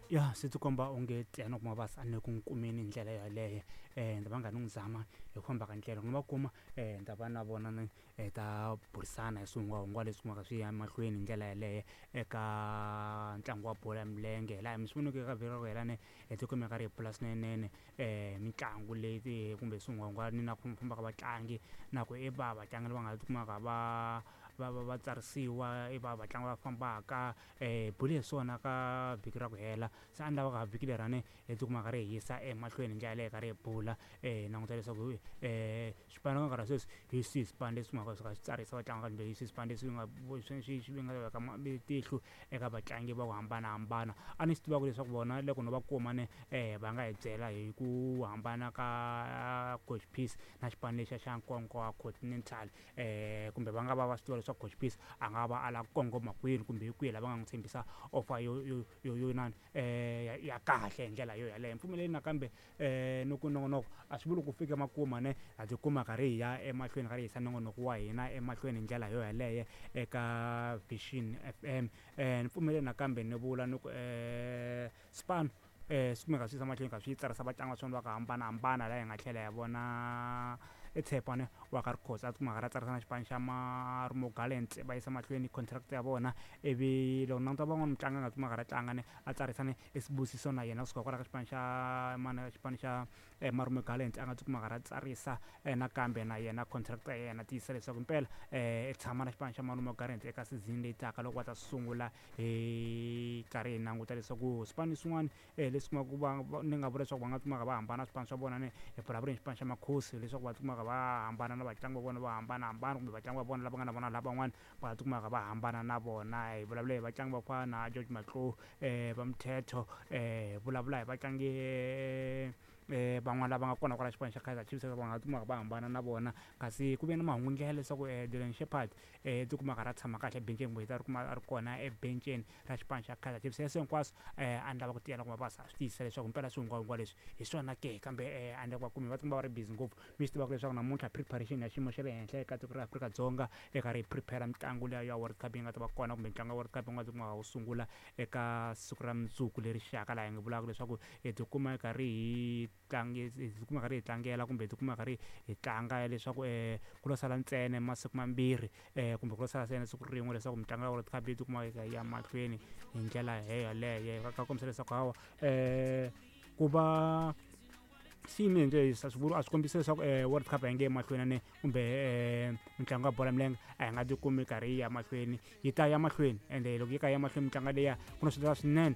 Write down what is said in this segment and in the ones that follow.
Ya swi ti komba onge Tiyani kuma va ni ku n'wi kumeni hi ndlela yaleyo ni ta va nga ni n'wi zama hi ku famba ka ndlela ni va kuma ni ta va na vona ni hi ta burisana hi swihungwahungwa leswi kumaka swi ya mahlweni hi ndlela yaleyo eka ntlangu wa bolo ya milenge laha mi swi voneke eka vhiki ra ku hela ne hi ti kumeka ri hi pfula swinene mitlangu leyi kumbe swihungwahungwani na ku famba ka vatlangi na ku i va vatlangi lava nga tikumaka va tsarisiwa i va vatlangi va fambaka hi bule hi swona ka vhiki ra ku hela se a ni lava ka vhiki lerani hi tikuma ka ri hi yisa emahlweni hi ndlela yaleyo ka ri hi bula hi languta leswaku swipano ka nkarhi wa sweswi hi swihi swipano leswi nga swi ka swi tsarisa vatlangi kumbe hi swihi swipano leswi nga swi nga veka tihlo eka vatlangi va ku hambanahambana. A ni swi tivaka leswaku vona loko no va kuma ne va nga hi byela hi ku hambana ka Coach Peace na xipano lexiya xa Nkowankowa Continental kumbe va nga va va swi tiva leswaku Coach Peace a nga va a lava ku kongoma kwini kumbe hi kwihi la va nga n'wi tshembisa offer yo inani ya kahle hi ndlela yo yaleyo. Mpfumeleli nakambe ni ku nongonoko a swi vuli ku fike makumu ne ha tikuma karhi hi ya emahlweni karhi hi yisa nongonoko wa hina emahlweni hi ndlela yo yaleyo eka Vision FM. Ni pfumeleli nakambe ni vula ni ku swipano swi kumeka swi yisa mahlweni kha swi tsarisa vatlangi va swona va ku hambanahambana laha hi nga tlhela hi vona Tshepane wa ka Rikhosi a tikuma a karhi a tsarisa na xipano xa Marumo Gallants va yisa mahlweni contract ya vona ivi loko languta van'wana mutlangi a nga tikuma a karhi a tlanga ne a tsarisa ne i Sibusiso na yena kusuka kwala ka xipano xa mani xipano xa Marumo Gallants a nga tikuma a karhi a tsarisa nakambe na yena contract ya yena tiyisisa leswaku impela i tshama na xipano xa Marumo Gallants eka season leyi taka loko va ta sungula hi karhi hi languta leswaku swipano swin'wana leswi kumaka ku va ni nga vula leswaku va nga kumaka va hambana swipano swa vona ni hi vulavula hi xipano xa Makhosi leswaku va tikumaka va hambana na vatlangi va vona vo hambanahambana kumbe vatlangi va vona lava nga na vona lavan'wana va tikumaka va hambana na vona. Hi vulavula hi vatlangi va ku fana na George Matlou va Mthetho hi vulavula hi vatlangi van'wana lava nga kona kwala xipano xa Kaizer Chiefs va nga tikumaka va hambana na vona kasi ku ve na mahungu ndlela leswaku Dylan Shepherd tikuma a karhi a tshama kahle ebenceni kumbe ta ri kuma a ri kona ebenceni ra xipano xa Kaizer Chiefs. Sweswo hinkwaswo a ni lava ku tiyela ku va swi tiyisisa leswaku mpela swihungwahungwa leswi hi swona ke kambe a ni le ku va kumi va tikuma va ri busy ngopfu. Mi swi tivaka leswaku namuntlha preparation ya xiyimo xa le henhla eka tiko ra Afrika-Dzonga eka ri prepare mitlangu liya ya World Cup yi nga ta va kona kumbe ntlangu ya World Cup yi nga tikuma wu sungula eka siku ra mundzuku leri xaka laha hi nga vulaka leswaku hi tikuma hi karhi hi tlangi hi tikuma karhi hi tlangela kumbe hi tikuma karhi hi tlanga leswaku ku lo sala ntsena masiku mambirhi kumbe ku lo sala ntsena siku rin'we leswaku mitlangu ya World Cup yi tikuma yi kha yi ya mahlweni hi ndlela yeleyo ka kombisa leswaku hawa ku va swi yime hi ndlela leyi a swi vuli a swi kombisi leswaku World Cup a yi nge yi mahlweni ne kumbe mitlangu ya bolo ya milenge a hi nga tikumi karhi yi ya mahlweni yi ta ya mahlweni ende loko yi ka ya mahlweni mitlangu liya ku na swo tala swinene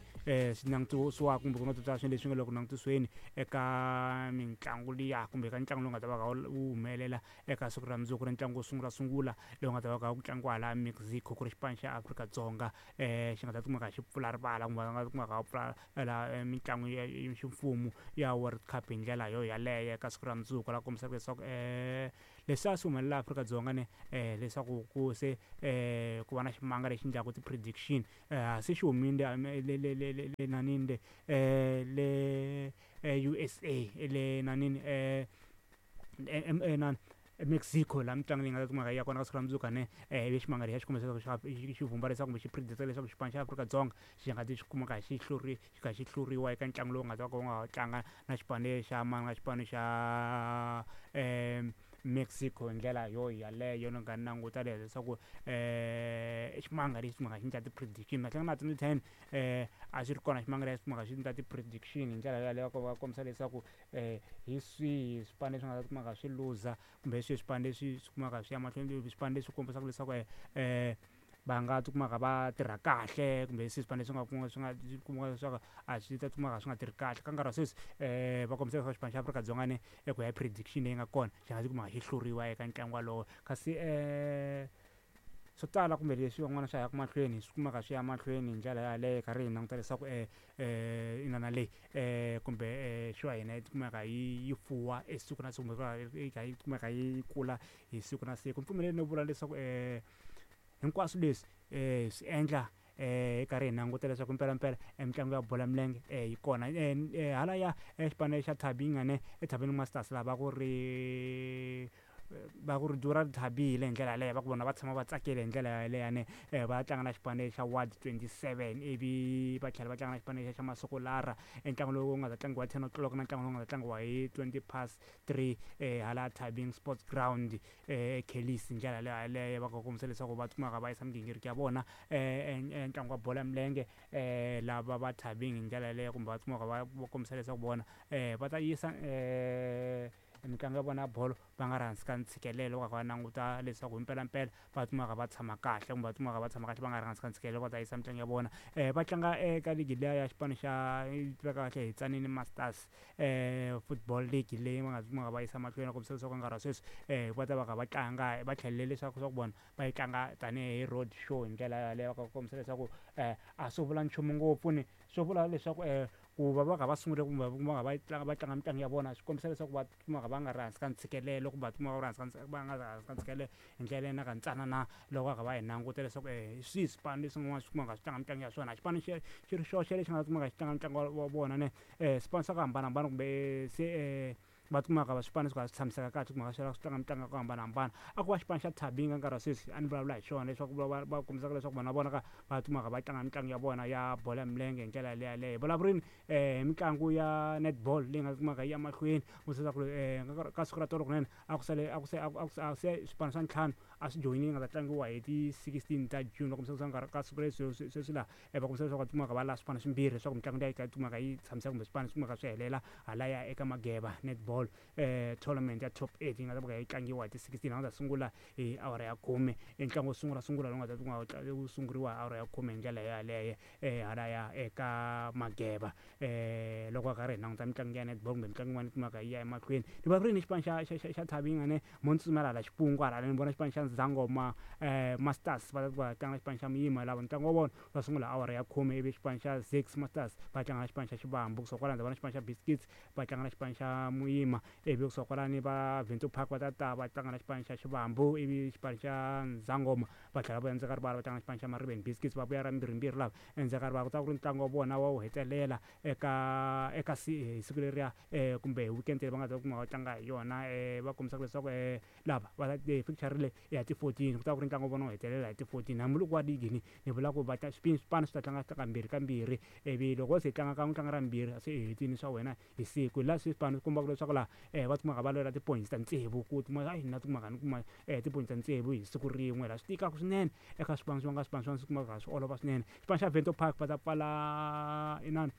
swi langutisiwaka kumbe ku na swo tala swinene leswi nga le ku langutisiweni eka mitlangu liya kumbe ka ntlangu lowu nga ta va wu humelela eka siku ra mundzuku ri ntlangu wo sungula sungula lowu nga ta va kha ku tlangiwa hala Mexico ku ri xipano xa Afrika-Dzonga xi nga ta kumeka xi pfula rivala kumbe va nga kumeka va pfula la mitlangu ya ximfumo ya World Cup hi ndlela yo yaleyo eka siku ra mundzuku la kombisaka leswaku leswi a swi humelela Afrika-Dzonga ne leswaku ku se ku va na ximanga lexi endlaku ti-prediction se xi humile le le le le le nanini le le USA le nanini nani Mexico laha mitlangu leyi nga ta kumeka yi ya kona ka siku ra mundzuku ne ivi ximanga lexiya xi kombisa leswaku xi vhumba leswaku kumbe xi predict leswaku xipano xa Afrika-Dzonga xi nga ti xi kumeka xi hluri xi kha xi hluriwa eka ntlangu lowu nga ta ka wu nga tlanga na xipano xa mani na xipano xa Mexico hi ndlela yo yaleyo ni nga languta leswaku i ximanga lexi kumeka xi endla ti-prediction mahlweni na 2010 a xi ri kona ximanga lexi kumeka xi endla ti-prediction hi ndlela yaleyo ku va kombisa leswaku hi swihi swipano leswi nga ta kumeka swi luza kumbe hi swihi swipano leswi swi kumeka swi ya mahlweni swipano leswi kombisaka leswaku va nga tikumaka va tirha kahle kumbe hi swihi swipano leswi nga kuma swi nga kumaka leswaku a swi ta kumaka swi nga tirhi kahle ka nkarhi wa sweswi va kombisa leswaku xipano xa Afrika-Dzonga ni eku ya hi prediction leyi nga kona xi nga tikuma xi hluriwa eka ntlangu walowo kasi swo tala kumbe leswi van'wana swa yaka mahlweni swi kumeka swi ya mahlweni hi ndlela yaleyo karhi hi languta leswaku inana leyi kumbe show ya hina yi kumeka yi fuwa e siku na siku kumbe yi kha yi kumeka yi kula hi siku na siku. Mpfumeleli no vula leswaku hinkwaswo leswi swi endla hi karhi hi languta leswaku mpelampela mitlangu ya bolo ya milenge yi kona halaya xipano xa Thabinga ne eThabini Masters lava ku ri Va ku ri dura thabile hi ndlela yaleyo, va ku vona va tshama va tsakile hi ndlela yaleyo ne. Va tlanga na xipano xa Ward 27, ivi va tlhela va tlanga na xipano xa Masokolara, e ntlangu lowu nga ta tlangiwa 10 o'clock, na ntlangu lowu nga ta tlangiwa hi 3:20 hala Thabeng Sports Ground, Kellis. Hi ndlela leyo yaleyo va kombisa leswaku va kumaka va yisa migingiriko ya vona ntlangu wa bolo ya milenge, lava va Thabeng hi ndlela yaleyo, kumbe va kumaka va kombisa leswaku vona va ta yisa mitlangu ya vona ya bolo va nga ri hansi ka ntshikelelo, va va languta leswaku himpelampela va kumaka va tshama kahle, kumbe va kumaka va tshama kahle va nga ri hansi ka ntshikelelo, va ta yisa mitlangu ya vona. Va tlanga eka ligi liya ya xipano xa yi tiveka kahle hi Tzaneen Masters Football League, leyi va nga kumaka va yisa mahlweni. Va kombisa leswaku nkarhi wa sweswi va ta va kha va tlanga, va tlhelele leswaku swa ku vona va yi tlanga tanihi road show. Hi ndlela yaleyo va kombisa leswaku a swo vula nchumu ngopfu ni swo vula leswaku ku va va kha va sungule kumbe va kha va tlanga, va tlanga mitlangu ya vona, swi kombisa leswaku va kumaka va nga ri hansi ka ntshikelelo, kumbe va kumaka va ri hansi ka va nga ri hansi ka ntshikelelo hi ndlela leyi na ntsanana. Loko va kha va hi languta leswaku hi swihi swipano leswin'wana swi kumaka swi tlanga mitlangu ya swona, xipano xi xi ri xoxe lexi nga kumaka xi tlanga ntlangu wa vona ne, swipano swa ku hambanahambana, kumbe se va kumaka va swipano swi kha swi tshamiseka kahle, kumaka swi swi tlanga mitlangu ya ku hambanahambana. A ku va xipano xa Thabeng nkarhi wa sweswi a ni vulavula hi xona, leswaku va kombisaka leswaku vona vona ka va kumaka va tlanga mitlangu ya vona ya bolo ya milenge hi ndlela leyo yaleyo. Hi vulavurini hi mitlangu ya netball leyi nga kumaka yi ya mahlweni, leswaku ka siku ra tolo kunene a ku sale a ku se a ku se swipano swa ntlhanu a swi joyinile, nga ta tlangiwa hi ti 16 ta June. Va kombisa leswaku nkarhi ka siku leri sweswi laha va kombisa leswaku va kumaka va lava swipano swimbirhi leswaku mitlangu leyi yi kumaka yi tshamiseka, kumbe swipano swi kumaka swi helela halaya eka Mageba Netball Tournament ya top 8 yi nga ta va yi tlangiwa hi ti 16, nga ta sungula hi awara ya 10. I ntlangu wo sungula sungula lowu nga ta kuma wu sunguriwa hi awara ya 10 hi ndlela yaleyo halaya eka Mageba. Loko va karhi hi languta mitlangu ya netball kumbe mitlangu yin'wana yi kumaka yi ya emahlweni, ni vulavula ni xipano xa Thabeng ne, mo ni tsutsumela hala Xipungu hala, ni vona xipano xa Zangoma Masters va ta va tlanga xipano xa Muyima, lava ntlangu wa vona va sungula awara ya 10, ivi xipano xa Zix Masters va tlanga na xipano xa Xivambu. Kusuka kwalano ndzi vona xipano xa Biscuits va tlanga na xipano xa Muyima, ivi kusuka kwalani va Venture Park va ta ta va tlanga na xipano xa Xivambu, ivi xipano xa Zangoma va tlhela va endzeni ka rivala va tlanga na xipano xa Mariveni Biscuits, va vuya ra mbirhimbirhi lava endzeni ka rivala. Ku ta ku ri ntlangu wa vona wa wu hetelela eka hi siku leriya, kumbe hi weekend leyi va nga ta kuma va tlanga hi yona. Va kombisaka leswaku lava va fixture leyi ya ti 14, ku ta ku ri ntlangu wa vona wo hetelela hi ti 14, hambiloko wa ligi ni vula ku va ta swipano swi ta tlanga kambirhi kambirhi, ivi loko se tlanga kan'we, tlanga ra mbirhi, se i hetini swa wena hi siku. Laha swipano swi kombaka leswaku laha va kumaka va lwela ti-points ta tsevu, ku kuma hayi na kumaka ni kuma ti-points ta tsevu hi siku rin'we, laha swi tikaka swinene eka swipano swa nga swipano swa swi kumaka swi olova swinene. Xipano xa Vento Park va ta pfala inani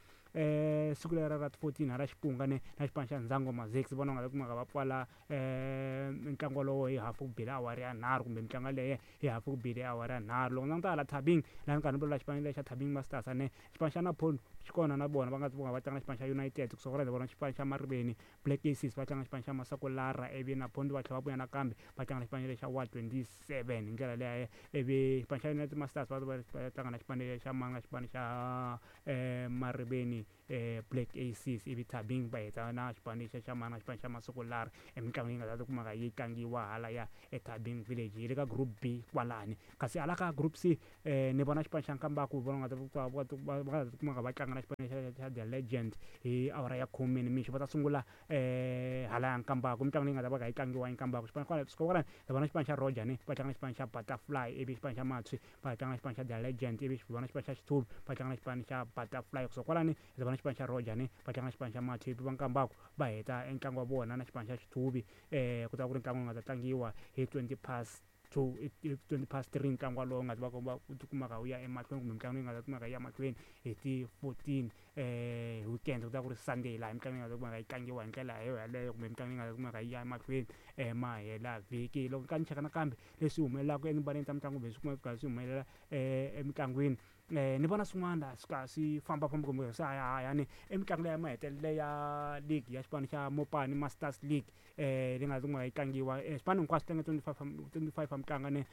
siku lera ra 14 hala Xipunga ne na xipano xa Nzangoma Zix, vona nga ta kumaka va pfala ntlangu wolowo hi hafu ku bile awara ya 3, kumbe mitlangu yaleyo hi hafu ku bile awara ya 3. Loko languta hala Thabeng laha ni karhi ni vulavula xipano lexi xa Thabeng Masters ne, xipano xa Napoli xi kona na vona va nga va tlanga xipano xa United. Kusuka kwalaho vona xipano xa Mariveni Black Aces va tlanga xipano xa Masakolara, ivi Napoli va tlhela va vuya nakambe va tlanga na xipano lexi xa Ward 27 hi ndlela leyo, ivi xipano xa United Masters va tlanga na xipano xa manga xipano xa Mariveni Black Aces, ivi Thabeng va heta na xipano xa xa manga xipano xa Masokolara. Emitlangu leyi nga ta kumaka yi tlangiwa halaya eThabeng Village yi le ka group B kwalani, kasi hala ka group C ni vona xipano xa Nkambaku, vona nga ta va nga ta kumaka va tlanga na xipano xa The Legend hi awara ya 10 nimixo, va ta sungula halaya Nkambaku. Mitlangu leyi nga ta va kha yi tlangiwa eNkambaku, xipano kwala kwalani hi vona xipano xa Roger ne va tlanga na xipano xa Butterfly, ivi xipano xa Matshwi va tlanga na xipano xa The Legend, ivi vona xipano xa Xithuvi va tlanga na xipano xa Butterfly. Kusuka kwalani hi vona xipano xa Roger ne va tlanga na xipano xa Matshwi, ivi va Nkambaku va heta entlangu wa vona na xipano xa Xithuvi. Ku ta ku ri ntlangu wu nga ta tlangiwa hi 2:20, 3:20, ntlangu walowo nga ta va va kumaka wu ya emahlweni, kumbe mitlangu leyi nga ta kumaka yi ya mahlweni hi ti 14 weekend, ku ta ku ri Sunday, laha mitlangu yi nga ta kumaka yi tlangiwa hi ndlela yo yaleyo, kumbe mitlangu leyi nga ta kumaka yi ya emahlweni mahela vhiki. Loko ka ni cheka nakambe leswi humelelaka etimbaleni ta mitlangu, kumbe swi kumaka swi humelela emitlangwini, ni vona swin'wana laha swi ka swi fambafamba kumbe swi hayahayani emitlangu leyi ya mahetelelo ya league ya xipano xa Mopani Masters League leyi nga ta yi tlangiwa. Swipano hinkwaswo tlange 25, 25 wa mitlangu ne,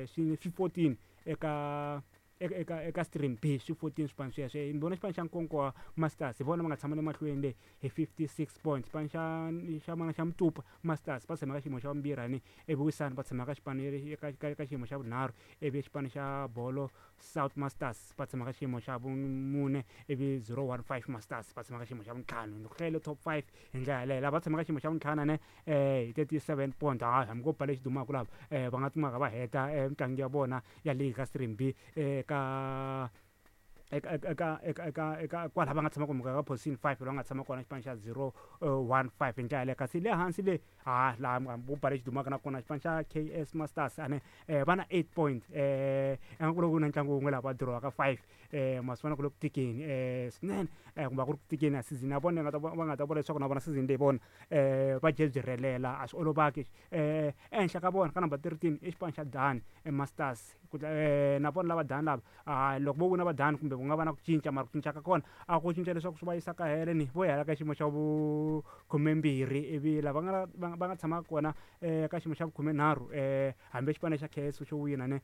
swi 14 eka eka stream B swi 14 swipano sweswo. Ni vona xipano xa Nkowankowa Masters hi vona va nga tshama le mahlweni le hi 56 points. Xipano xa mana xa Mtupa Masters va tshama ka xiyimo xa vumbirhi ivi Wisani va tshama ka xipano ka xiyimo xa vunharhu, ivi xipano xa Bolo South Masters va tshama ka xiyimo xa vumune, ivi 015 Masters va tshama ka xiyimo xa vuntlhanu. Ni ku hlayile top 5 hi ndlela yaleyo. Lava va tshama ka xiyimo xa vuntlhanu ne hi 37 points. Hayi hambi ko ba lexi dumaka lava va nga kumaka va heta mitlangu ya vona ya league ka stream B eka eka eka eka eka eka kwalaha va nga tshama kumbe ka position 5 laha nga tshama kona xipano xa 015 hi ndlela yaleyo. Kasi le hansi le ha laha vo ba lexi dumaka na kona xipano xa KS Masters ane va na 8 points, ingaku loko ku na ntlangu wun'we laha va dirowaka 5, ma swi vona ku le ku tikeni swinene, kumbe a ku ri ku tikeni ya season ya vona va nga ta vula leswaku na vona season leyi vona va dye byi rhelela, a swi olovaki. Ehenhla ka vona ka number 13 i xipano xa Dan Masters, na vona lava Dan lava loko vo wina va Dan kumbe ku nga va na ku cinca, mara ku cinca ka kona a ku cinca leswaku swi va yisa ka hele ni vo ya ka xiyimo xa vu-12, ivi lava va nga tshama kona ka xiyimo xa vu-13, hambi xipano xa KS xo wina ne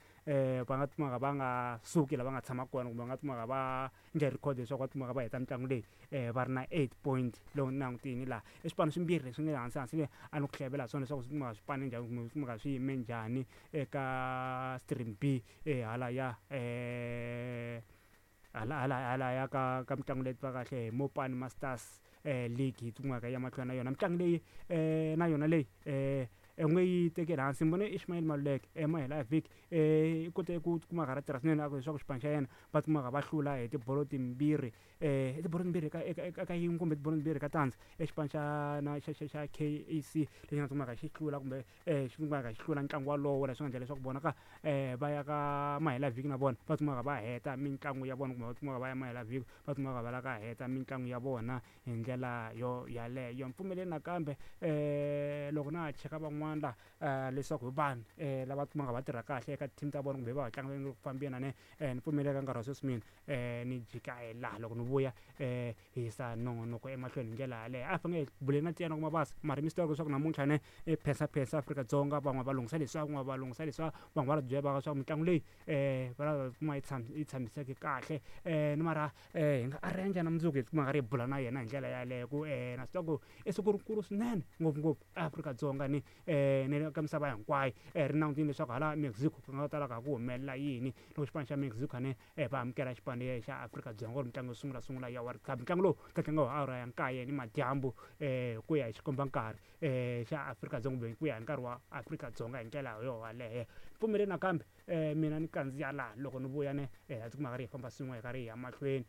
va nga kumaka va nga suki lava nga tshama kona, kumbe va nga kumaka va nge record leswaku va kumaka va heta mitlangu leyi va ri na 8 point. Loko ni langutini laha i swipano swimbirhi leswi nga hansi hansi le a ni ku hlevela swona leswaku swi kumaka swipano njhani kumbe swi kumaka swi yime njhani eka stream B hala ya hala ya ka mitlangu leyi tiva kahle hi Mopani Masters League yi kumaka ya mahlweni na yona mitlangu leyi na yona leyi nge yi tekeli hansi. Ni vone Ishmael Maluleke mahela ya vhiki i kote ku kumaka ra tirha swinene leswaku xipano xa yena va kumaka va hlula hi tibolo timbirhi, tibolo timbirhi eka yin'we kumbe tibolo timbirhi ka tandza exipano xa na xa xa xa KAC lexi nga kumaka xi hlula kumbe xi kumaka xi hlula ntlangu walowo, leswi nga endla leswaku vona ka va ya ka mahela vhiki na vona va kumaka va heta mitlangu ya vona, kumbe va kumaka va ya mahela vhiki va kumaka va la ka heta mitlangu ya vona hi ndlela yo yaleyo. Mpfumeleli nakambe loko na ha cheka van'wana la leswaku hi vanhu lava kumaka va tirha kahle eka team ta vona kumbe va tlanga va ku fambeni ne, ni pfumeleka nkarhi wa sweswi mina ni jika hi laha loko ni vuya hi yisa nongonoko emahlweni hi ndlela yaleyo. A hi fanele hi buleni na Tiyani Mabasa, mara mi swi tiva leswaku namuntlha ne phensa Afrika-Dzonga van'wana va lunghisa leswiya, van'wana va lunghisa leswiya, van'wana va byela va leswaku mitlangu leyi va lava kuma yi yi tshamiseke kahle, ni mara hi nga arrange na mundzuku hi kuma ri hi bula na yena hi ndlela yaleyo ku na swi tiva ku i siku rikulu swinene ngopfungopfu Afrika-Dzonga ni ni ka misava hinkwayo, ri langutile leswaku hala Mexico ku nga ta lava ku humelela yini loko xipano xa Mexico ne va amukela xipano xa Afrika-Dzonga ku ri mitlangu yo sungula sungula ya World Cup. Ntlangu lowu ta tlangiwa hi awara ya 9 ni madyambu ku ya hi xikomba nkarhi xa Afrika-Dzonga kumbe ku ya hi nkarhi wa Afrika-Dzonga hi ndlela yo yaleyo. Pfumeleli nakambe mina ni kandziya laha loko ni vuya ne hi tikuma karhi hi famba swin'we hi karhi hi ya mahlweni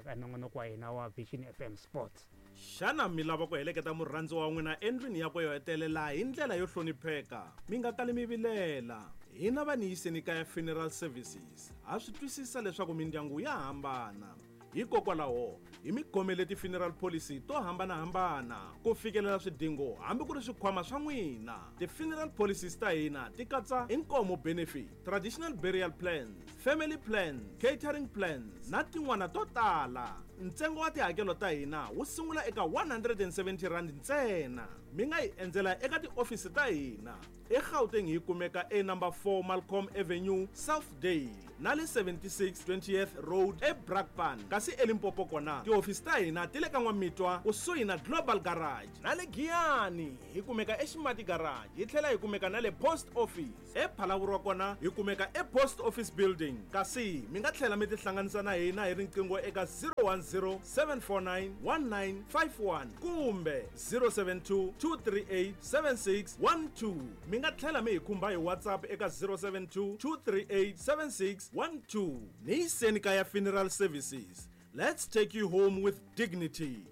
ka nongonoko wa hina wa Vision FM Sports. Xana mi lava ku heleketa murhandziwa wa n'wina endlwini yakwe yo hetelela hi ndlela yo hlonipheka? Mi nga kali mi vilela. Hina va ni yiseni kaya Funeral Services ha swi twisisa leswaku mindyangu ya hambana. Hikokwalaho hi mi khomele ti-funeral policy to hambanahambana ku fikelela swidingo hambi ku ri swikhwama swa n'wina. Ti-funeral policies ta hina ti katsa inkomo benefit, traditional burial plans, family plans, catering plans na tin'wana to tala. Ntsengo wa tihakelo ta hina wu sungula eka 170 rand ntsena. Mi nga hi endzela eka tiofisi ta hina eGauteng, hi kumeka e number 4 Malcolm Avenue, Southdale, na le 76 20th Road eBrakpan. Kasi eLimpopo kona tihofisi ta hina ti le ka N'wamitwa kusuhi na Global Garage, na le Giyani hi kumeka eXimati Garage, hi tlhela hi kumeka na le Post Office. ePhalaborwa kona hi kumeka ePost Office Building. Kasi mi nga tlhela mi tihlanganisa na hina hi riqingho eka 010 749 1951 kumbe 072 238 7612. Mi nga tlhela mi hi khumba hi WhatsApp eka 072 238 7612. Ni yiseni kaya Funeral Services, let's take you home with dignity.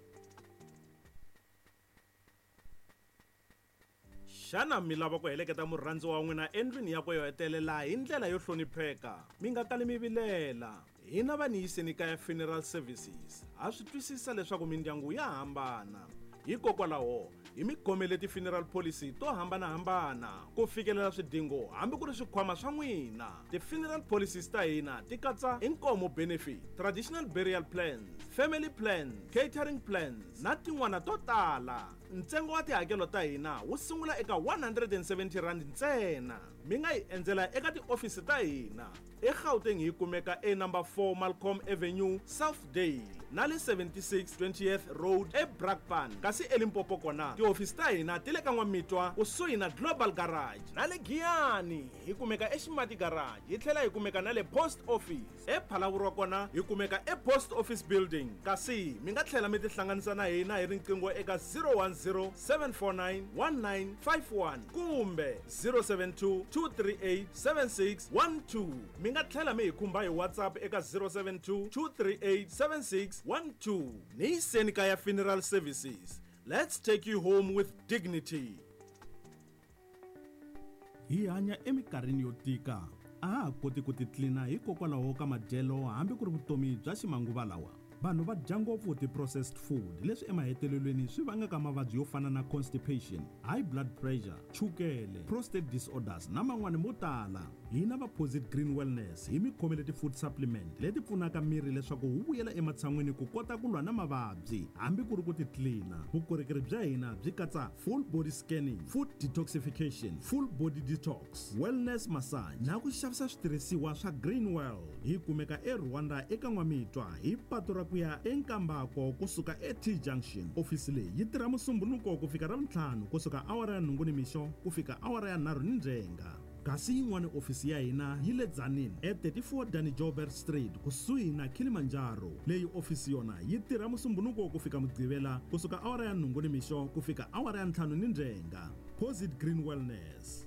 Xana mi lava ku heleketa murhandziwa wa n'wina endlwini yakwe yo hetelela hi ndlela yo hlonipheka? Mi nga kali mi vilela. Hina va ni yiseni kaya Funeral Services ha swi twisisa leswaku mindyangu ya hambana. Hikokwalaho hi mi khomele ti-funeral policy to hambanahambana ku fikelela swidingo hambi ku ri swikhwama swa n'wina. Ti-funeral policies ta hina ti katsa inkomo benefit, traditional burial plans, family plans, catering plans na tin'wana to tala. Ntsengo wa tihakelo ta hina wu sungula eka 170 rand ntsena. Mi nga hi endzela eka tiofisi ta hina eGauteng, hi kumeka e number 4 Malcolm Avenue, Southdale, na le 76 20th Road eBrakpan. Kasi eLimpopo kona tihofisi ta hina ti le ka N'wamitwa kusuhi na Global Garage, na le Giyani hi kumeka eXimati Garage, hi tlhela hi kumeka na le Post Office. ePhalavurwa kona hi kumeka ePost Office Building. Kasi mi nga tlhela mi tihlanganisa na hina hi riqingho eka 010 749 1951 kumbe 072 238 7612. Mi nga tlhela mi hi khumba hi WhatsApp eka 072 238 7612. Ni yiseni kaya Funeral Services, let's take you home with dignity. Hi hanya eminkarhini yo tika, a ha ha koti ku titlina hikokwalaho ka madyelo hambi ku ri vutomi bya ximanguva lawa. Vanhu va dya ngopfu ti-processed food, leswi emahetelelweni swi vangaka mavabyi yo fana na constipation, high blood pressure, chukele, prostate disorders na man'wani mo tala. Hina va Posit Green Wellness hi mi khomele ti-food supplement leti pfunaka miri leswaku wu vuyela ematshan'wini ku kota ku lwa na mavabyi hambi ku ri ku titlina. Vukorhokeri bya hina byi katsa full body scanning, food detoxification, full body detox, wellness massage na ku xavisa switirhisiwa swa Green World. Hi kumeka eRwanda eka N'wamitwa hi patu ra ku ya eNkambako kusuka eT Junction. Ofisi leyi yi tirha Musumbunuko ku fika Ravuntlhanu kusuka awara ya 8 nimixo ku fika awara ya 3 nindzhenga. Kasi yin'wana ofisi ya hina yi le Tzaneen e 34 Danny Joubert Street kusuhi na Kilimanjaro. Leyi ofisi yona yi tirha Musumbunuko ku fika Mugqivela kusuka awara ya 8 nimixo ku fika awara ya 5 nindzhenga. Posit Green Wellness.